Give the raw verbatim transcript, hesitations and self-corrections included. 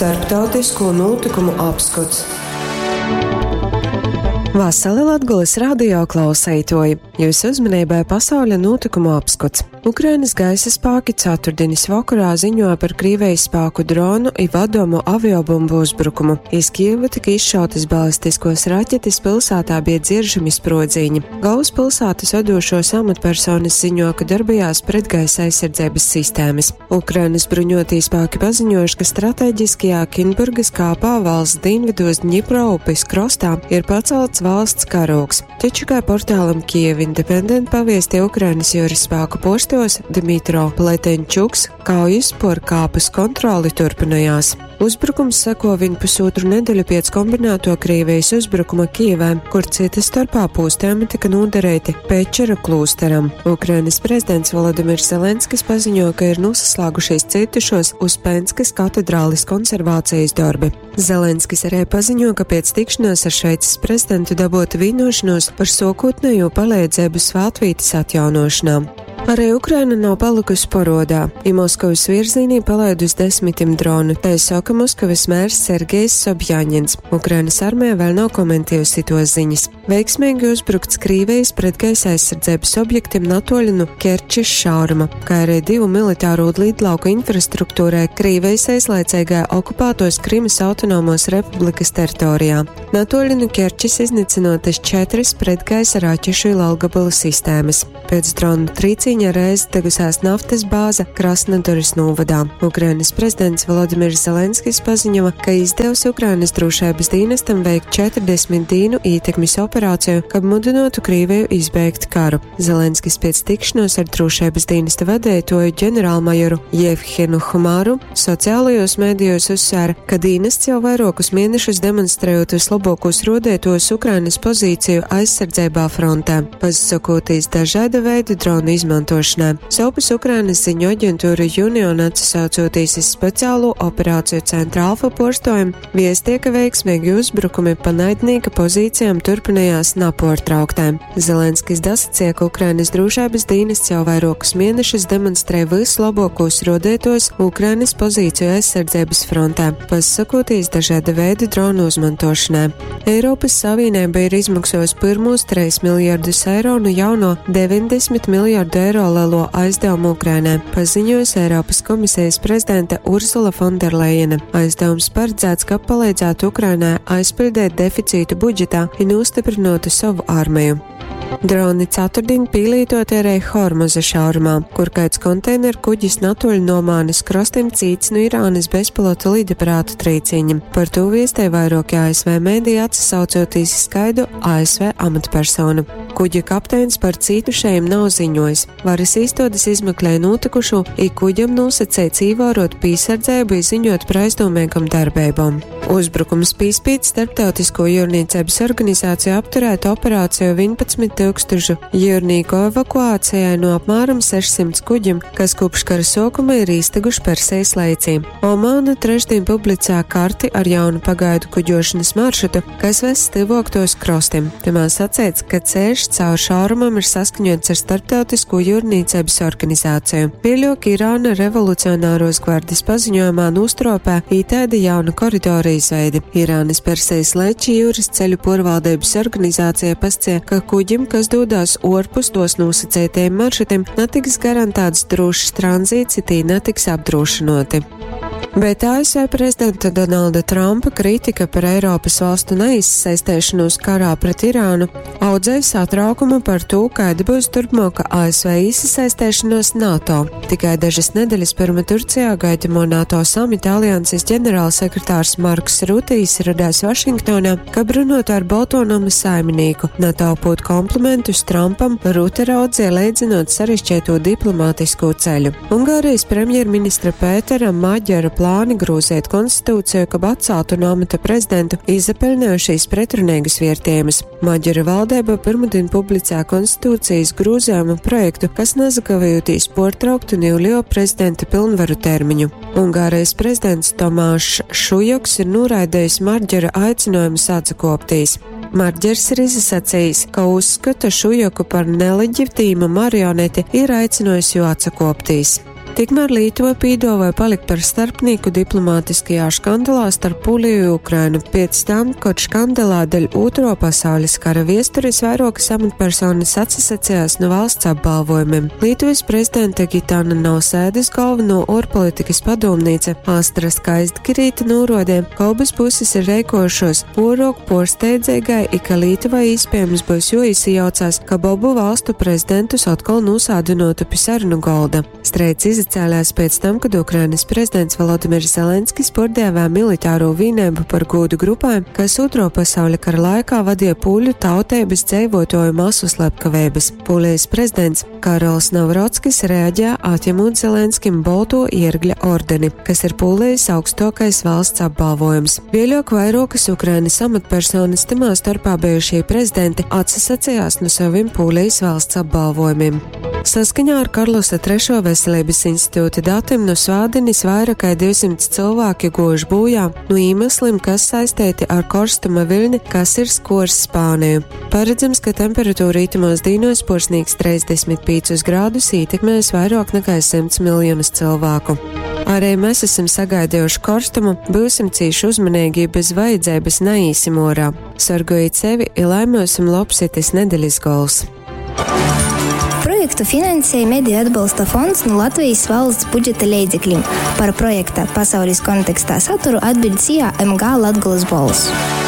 Starptautisko notikumu apskots. Vasali Latgulas radio klauseitoji! Jūsu uzmanībai pasauļa notikumu apskots. Ukrainas gaisa spāki ceturtdienas vakarā ziņoja par Krievijas spēku dronu i vadomu aviobumbu uzbrukumu. Iz Kijevu tika izšautas balistiskos raķetes, pilsētā bija dzieržami sprodziņi. Galvaspilsētas vadošos amatpersonas ziņo, ka darbojās pretgaisa aizsardzības sistēmas. Ukrainas bruņotie spēki paziņojuši, ka strateģiskajā Kinburgas kāpā valsts dienvidos Dņipro upes krostā ir pacelts valsts karogs. Taču, kā portālam Kiev Independent paviestīja Ukrainas jūras spēku postos Dmitro Pletenčuks, kaujas por kāpas kontroli turpinājās. Uzbrukums seko viņu pusotru nedēļu pēc kombinēto Krievijas uzbrukuma Kijevē, kur cita starpā pūstējumi tika nodarīti Pečera klūsteram. Ukrainas prezidents Volodimirs Zelenskis paziņo, ka ir nosaslēgušies cietušos Uspenskas katedrālis konservācijas darbi. Zelenskis arī paziņo, ka pēc tikšanās ar Šveices prezidentu dabota vienošanos par sokotnējo palīdzību svētvītas atjaunošanā. Arī Ukraina nav palikusi porodā, ja Moskavas virzienī palaidus desmitiem dronu, tā saka Moskavas mērs Sergejs Sobjaņins. Ukrainas armija vēl nav komentējusi to ziņas. Veiksmīgi uzbrukts Krīvijas pretgaisa aizsardzības objektiem natoļu no Kerčes šauruma, kā arī divu militāro lidlauku infrastruktūrai Krīvijas aizlaicīgā okupētos Krimas autonomos republikas teritorijā. Natoļu no Kerčes iznīcinotas četras pretgaisa raķešu ilgabalu sistēmas. Pēc dronu trīcīņa reiz degusās naftas bāze Krasnodaras novadā. Ukrainas prezidents Volodimirs Zelenskis paziņoja, ka izdevusi Ukrainas drošības dienestam veikt četrdesmit dienu ietekmes operāciju, kad mudinātu Krieviju izbeigt karu. Zelenskis pēc tikšanos ar drošības dienesta vadītāju ģenerālmajoru Jevhenu Humāru sociālajos mēdījos uzsvēra, ka dienests jau vairākus mēnešus demonstrējot vislabākos rodētos Ukrainas pozīciju aizsardzībā frontē, pasakoties dažāda veida dronu izmantošanai. Savpus Ukrainas ziņu aģentūra Union atsaucoties iz speciālo operāciju centra Alfa porstojumu, viestie, ka veiksmīgi uzbrukumi pa naidnieka pozīcijām turpinājās napārtrauktēm. Zelenskis dasacīja, ka Ukrainas drošības dienests jau vairākus mēnešus demonstrē vislabākos rodētos Ukrainas pozīciju aizsardzības frontē, pasakoties dažāda veida dronu izmantošanai. Eiropas Savienība ir izmaksājusi pirmos trīs miljardus eiro no jauno deviņdesmit miljardu eiro lielo aizdevumu Ukrainai, paziņojusi Eiropas komisijas prezidente Ursula Fonderlejena. Aizdevums paredzēts, ka palīdzētu Ukrainai aizpildīt deficītu budžetā un nostiprinātu savu armiju. Droni ceturtdien pīlītot arī Hormuza šaurumā, kur kāds konteineru kuģis natoļ no Omānas krastiem cīts no Irānas bezpilota lidaparātu trīciņa. Par to viestē vairāki A S V mēdī atsaucoties skaidu A S V amatpersonu. Kuģa kapteinis par cītušajiem nav ziņojis. Varas īstodes izmeklēja notikušo, i kuģam nosacīts ievērot pīsardzību, ziņot par aizdomīgam darbībām. Uzbrukums pīspīt starptautisko jūrniecības organizāciju apturēt operāciju vienpadsmit tūkstošu jūrnieku evakuācijai no apmēram sešsimt kuģiem, kas kopš kara sākuma ir īsteguši Persijas leicī. Omāna trešdien publicē karti ar jaunu pagaidu kuģošanas maršrutu, kas ves tuvāktos krastiem. Tamā sacīts, ka ceļš caur šaurumam ir saskaņots ar starptautisko jūrniecības organizāciju. Vēlāk Irāna revolucionāros gvardes paziņojumā nostropē ītēda jaunu koridoru izveidi. Irānas Persijas leči jūras ceļu porvaldības organizācija pascie, ka kuģim, kas dodās orpus tos nosacītajiem maršrutiem, netiks garantēts drošs tranzīts, ja tī netiks apdrošinoti. Bet A S V prezidenta Donalda Trumpa kritika par Eiropas valstu neizsaistēšanos karā pret Irānu audzēja satraukumu par to, kāda būs turpmāka A S V iesaistēšanos NATO. Tikai dažas nedēļas pirma Turcijā gaidamo NATO samita alianses ģenerālsekretārs Marks Rutijs radās Vašingtonā, kad runot ar Baltonama saimnieku. NATO pūt komplimentus Trumpam, Rute raudzīja leidzinot sarežģīto diplomātisko ceļu. Ungārijas premjerministra Pētera Maģera plāni grūzēt konstitūciju, kab atceltu no amata prezidentu, izapeļņojušies pretrunīgus vērtējumus. Maģera valdība pirmdien publicē konstitūcijas grūzējuma projektu, kas nezakavējoties portrauktu Nīlio prezidenta pilnvaru termiņu. Ungārijas prezidents Tomāšs Šujoks ir noraidījis Maģera aicinājumu atsakoptīs. Maģers ir izsacījis, ka uzskata Šujoku par neleģitīmu marioneti ir aicinājis jo atsakoptīs. Tikmēr Lītuva pīduovoja palikt par starpnīku diplomātiskajā škandalā starp Pūliju i Ukrainu piec tam, kod škandalā deļ Ūtruo pasaulis kara viesturis vairuokys amatpersonys atsasacejās nu valsts apbalvojumim. Lītuvys prezidenta Gitana Nausēdys golvonuo uorpolitikys padūmnīca Astra Skaistgirīte nūruodeja, ka obys pusis ir reikuojušuos puoruok puorsteidzeigai i ka Lītuvai īspiejams byus juoīsajaucās, kab obu valstu prezidentus otkol nūsādynuotu pi sarunu golda. Streids izacēlēs pēc tam, kad Ukrainas prezidents Volodimirs Zelenskis puordēvēja militāro vīneibu par gūdu grupai, kas Ūtro pasauļa kara laikā vadīja pūļu tauteibys dzeivuotuoju masu slepkaveibys. Pūlijas prezidents Karols Navrockis reaģēja, atņemūt Zelenskim Bolto iergļa ordeni, kas ir Pūlijas augstuokais valsts apbalvojums. Vieļuok vairuokys Ukrainas amatpersonys, tymā storpā bijušie prezidenti, atsasacejās nu sovim Pūlijas valsts apbalvojumim. Saskaņā ar Karlosa Trešo veselības institūta datiem nu svātdinis vaira kai divsimts cylvāki guojuši būjā nu īmeslim, kas saisteiti ar korstuma viļni, kas ir skuors Spāniju. Paredzams, ka temperatūra itamos dīnuos puorsnīgs treisdesmit pīcus grādus, ītekmēs vairuok nakai symts miljonus cylvāku. Arī mēs esam sagaidejuši korstumu, byusim cīši uzmaneigi i bez vajadzeibys naīsim uorā. Sorgojit sevi i lai myusim lobs itys nedelis gols! Projektu finansēja Mediju atbalsta fonds nu Latvejis valsts budžeta leidzeklim. Par projekta Pasaulis kontekstā saturu atbiļd S I A M G Latgolys Bolss.